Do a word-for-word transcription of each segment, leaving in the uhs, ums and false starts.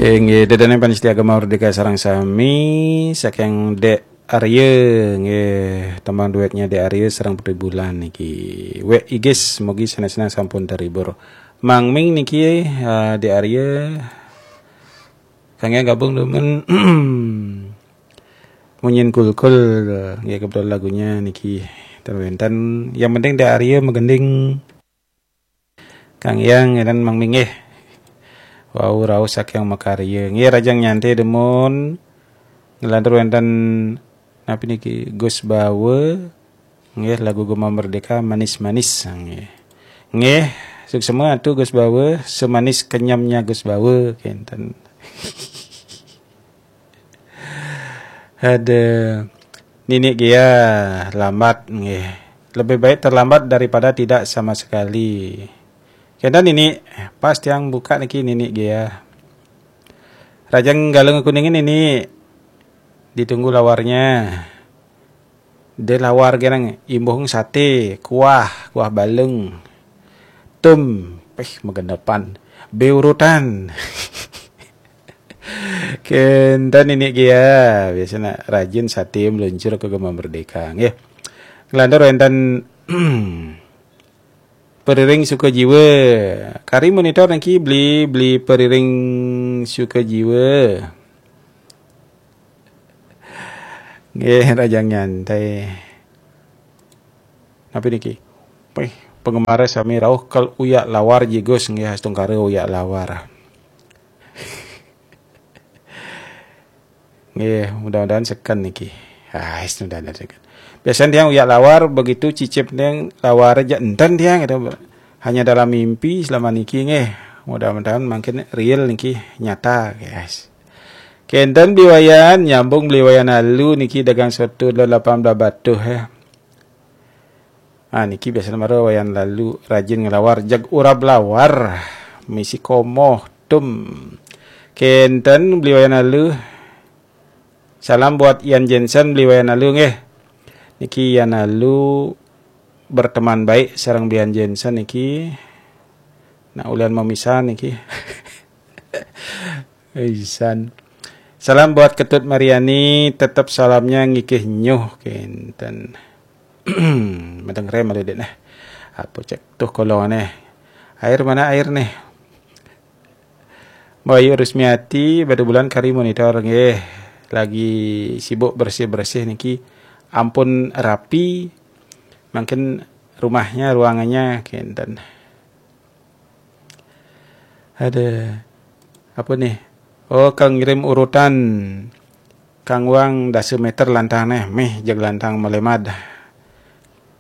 Inggih, ida dané pamiarsa Gema Merdeka sareng sami, saking Dék Arya, nggih, tembang duetnya Dék Arya sareng Putri Bulan niki. Wek Igis, mugi seneng-seneng sampun terhibur. Mang Ming niki, eh, Dék Arya, kangge gabung demen munyin kulkul, nggih, kebetulan lagunya niki ten wenten. Yang penting Dék Arya magending. Kang Yang dan Mang Ming, nggih. Wau rauh saking makarya. Nggih, rajang nyantai demun. Ngelantur wenten napi niki, Gus Bawe. Nggih, lagu Gema Merdeka, manis-manis, nggih. Nggih, suksema atu Gus Bawe, semanis kenyamnya Gus Bawe, kenten. Ada Nini Gea lambat, nggih. Lebih baik terlambat daripada tidak sama sekali. Kenten Nini, pas tiang buka niki Nini Gea. Rajang Galung Kuningan ini ditunggu lawarnya. De lawar genang imbuh sate, kuah, kuah balung. Tum, peh magenepan. Be urutan. Kenten Nini Gea, biasanya rajin sate meluncur ke Gema Merdeka, nggih. Ngelantur wenten Periring Sukajiwa. Kari monitor niki beli, beli Periring Sukajiwa. Nggih, rajang nyantai. Napi niki? Wih, penggemar sami rauh kal uyak lawar jigus, nggih, astungkara uyak lawar. Nggih, mudah-mudahan seken niki. Ah, mudah-mudahan seken. Biasanya tiang uyak lawar, begitu cicip tiang lawar aja enten tiang gitu. Hanya dalam mimpi selama niki, nggih. Mudah-mudahan makin real niki, nyata, guys. Kenten beli Wayan, nyambung beli Wayan alu niki, dagang soto delapan belas batuh, ya. Ah, niki biasanya mara Wayan lalu rajin ngelawar, jag urab lawar, misi komoh, tum. Kenten beli Wayan alu. Salam buat Ian Jensen beli Wayan alu, nggih. Niki Ian alu berteman baik sareng beli Ian Jensen niki. Nak ulian memisah niki. Isan. Salam buat Ketut Mariani, tetap salamnya ngikih nyuh kenten. Madeng rem ada dek nah. Apa cek tuh kolong aneh. Air mana air nih? Bayu Rusmiati, Batu Bulan kari monitor nggih. Lagi sibuk bersih-bersih niki. Ampun rapi. Mungkin rumahnya, ruangannya kenten. Ada apa nih? Oh, kang ngirim urutan. Kang Wang dasa meter lantang neh, meh jag lantang melemad.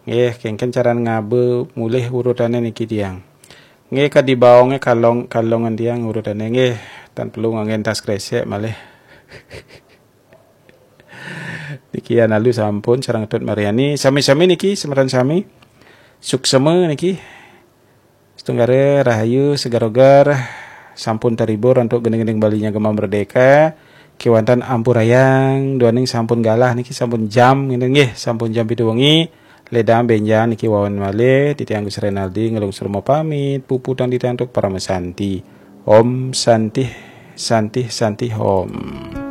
Nggih, kengken caran ngaba mulih urutane niki tiang. Nggih, kadi baonge kalong, kalongan tiang urutane nggih, tan perlu nganggen tas kresek malih. Niki analu sampun sareng Tut Mariani, sami-sami niki semeton sami. Suksema niki. Setunggara rahayu segarogar sampun terhibur untuk gending-gending Balinya Gema Merdeka. Kewanten ampurayang duaning sampun galah niki sampun jam ngene nggih, sampun jam pitu wengi. Ledang benjang niki wawan malih titiang Gus Renaldi ngelungsur mau pamit, puputang titiang untuk parama santi. Om Santih, Santih, Santih Om.